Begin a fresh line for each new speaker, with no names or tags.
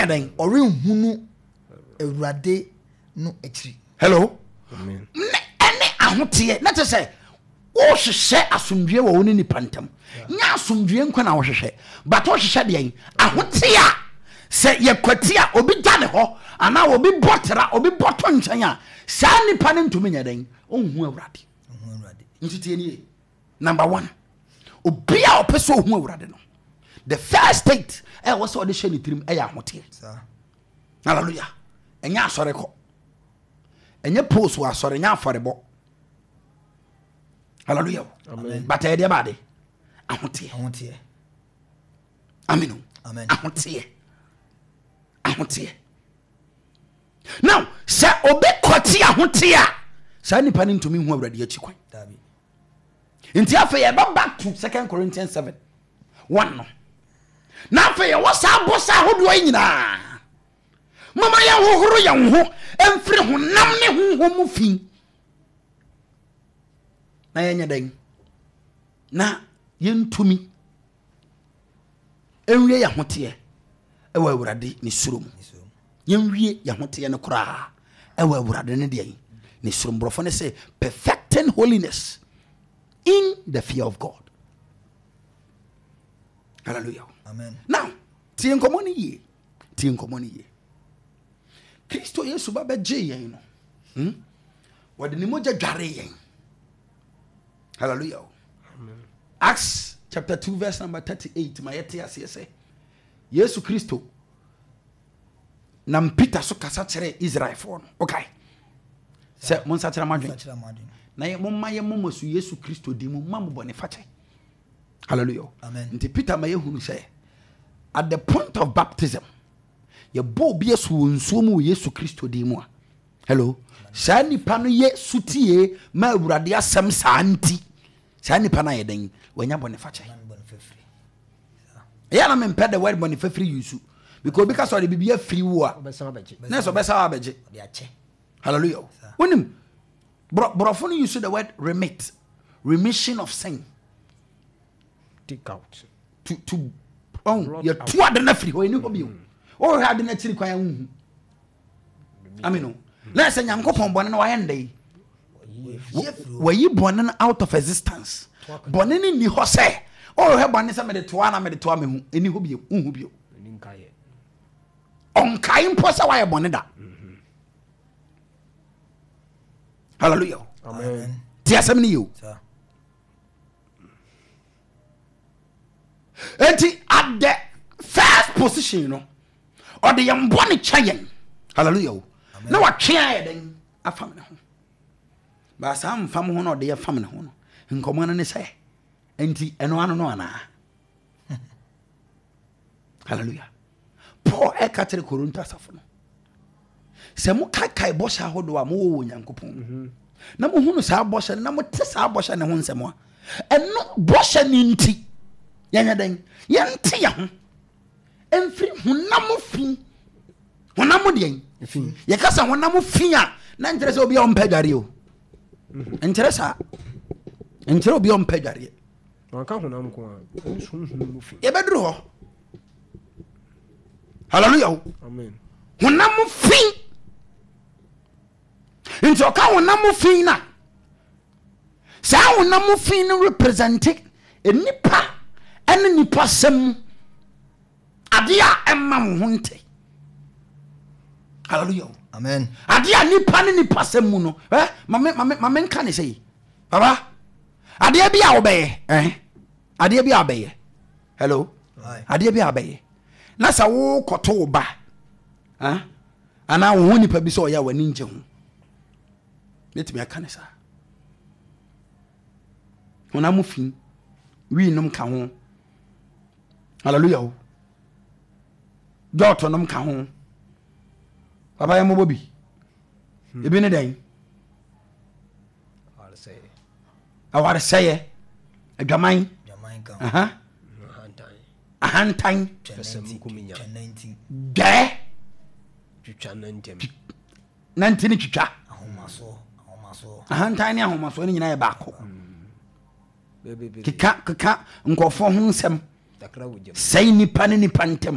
Ɔrenyɛ dɛn?
Ɔrenhunu Awurade no akyiri.
Hello. Ne ɛne ahoteɛ na kyerɛ sɛ wohwehwɛ asomdwoeɛ wɔ wo ne nipa ntam. Nyɛ asomdwoeɛ nkwa na wohwehwɛ, but wohwehwɛ deɛn? Ahoteɛ a sɛ yɛkwati a obi gya ne hɔ anaa obi bɔ tra, obi bɔ to nkyɛn a, saa nipa no ntumi nyɛ dɛn? Ɔnhu Awurade. Nti tie nie. Number one, obi a ɔpɛ sɛ ɔhu Awurade no, the first state ɛwɔ sɛ ɔde hyɛ ne tirim ɛyɛ ahoteɛ. Hallelujah. Ɛnyɛ asɔre kɔ. Ɛnyɛ post wɔ asɔre, ɛnyɛ afɔrebɔ. Hallelujah. Amen. But ɛyɛ deɛ baade. Ahoteɛ.
Ahoteɛ.
Amen.
Amen.
Ahoteɛ. Ahoteɛ. Now, sɛ obi kɔte ahoteɛ a, saa nipa no ntumi hu Awurade akyi kwan. Nti afei yɛba back to Second Corinthians 7 1 no. Na afei yɛwɔ saa bɔhyɛ ahodoɔ yi nyinaa. Mama yɛnhohoro yɛn ho mfiri honam ne honhom mu fi. Na yɛnyɛ dɛn? Na yɛntumi nwie yɛn ahoteɛ ɛwɔ Awurade ne suro mu. Yɛnwie yɛn ahoteɛ no koraa ɛwɔ Awurade ne deɛn? Ne suro mu. Borɔfo no sɛ perfecting holiness in the fear of God. Hallelujah.
Amen.
Now, tie nkɔmmɔ no yie. Tie nkɔmmɔ no yie. Kristo Yesu ba bɛgye yɛn no. Wɔde ne mogya dware yɛn. Hallelujah. Amen. Acts chapter 2 verse number 38 ma yɛte aseɛ sɛ Yesu Kristo nam Peter so kasa kyerɛ Israelfoɔ no. Okay. Sɛ monsakyera mo adwene na momma yɛmmɔ mo asu Yesu Kristo din mu ma mo bɔne fakyɛ. Hallelujah.
Amen.
Nti Peter ma yɛhunu sɛ at the point of baptism yɛbɔ obi asu wɔ nsuo mu wɔ Yesu Kristo din mu a hello saa nipa no yɛ sutie ma Awurade asɛm saa nti saa nipa no ayɛ dɛn wanya bɔne fakyɛ. Ɛyɛ na mempɛ the word bɔne fafiri yusu because obi ka sɛ ɔde biribi afiri wo a na sɛ ɔbɛsa abɛgye. Hallelujah. Wonim borɔfo no use the word remit, remission of sin.
Take out.
To oh, yɛtu ade no afiri hɔ ɛni hɔ bio. Wohwɛ ade no akyiri kwan a wonhu. Amen o. Na sɛ Nyankopɔn bɔne no wayɛ ndɛ yi. Wayi bɔne no out of existence. Bɔne no nni hɔ sɛ wohwɛ bɔne sɛ mede toa na mede toa mehu ɛni hɔ bio wonhu bio. Ɔnkae mpo sɛ wayɛ bɔne da. Hallelujah.
Amen.
Ti asɛm no yie o. Enti at the first position no, ɔde yɛn bɔne kyɛ yɛn. Hallelujah o. Na watwe ayɛ dɛn afam ne ho. Baasa mfam ho na ɔde yɛ fam ne ho no. Nkɔmɔ no ne sɛ, enti ɛno ano no anaa? Hallelujah. Paul ɛka kyerɛ Korinto asafo no sɛ mokaekae bɔhyɛ ahodoɔ a mowɔ wɔ Onyankopɔn mu mhm. na mohunu saa bɔhyɛ no na mote saa bɔhyɛ no ho nsɛm a ɛno bɔhyɛ no nti yɛnyɛ dɛn yɛnte yɛ ho mfiri honam fi honam deɛn yɛka sɛ honam fi a na nkyerɛ sɛ obi a ɔmpɛ adwareɛ o mhm. nkyerɛ saa nkyerɛ obi a ɔmpɛ adwareɛ
Wanka honam nko ara, ɛne sunsum mu fi.
Yɛbɛduru hɔ. Hallelujah. O.
Amen.
Honam fi. Nti ɔka honam fi na saa honam fi no represente nipa ɛne nipa sɛm mu adeɛ a ɛma wo ho nte. Hallelujah. O.
Amen.
Adeɛ a nipa ne nipa sɛm mu no, eh, mame mame mame nka ne sɛ yi. Baba. Adeɛ bi a wobɛyɛ eh? Adeɛ bi a wobɛyɛ. Hello? Adeɛ bi a wobɛyɛ. Na sɛ wokɔto wo ba eh? Anaa wo ho nipa bi sɛ ɔyɛ a w'ani ngye ho. Mɛtumi aka ne saa. Honam fi, wii nom ka ho. Hallelujah o. Dɔɔto nom ka ho. Papa yɛ mmɔbɔ bi. Ebi ne dɛn? Awaresɛeɛ, adwaman, ahantan, dwɛɛ, nanti ne twitwa. Ahantan ne ahomasoɔ no nyinaa yɛ baako. Keka keka nkurɔfoɔ ho nsɛm, sɛe nipa ne nipa ntam.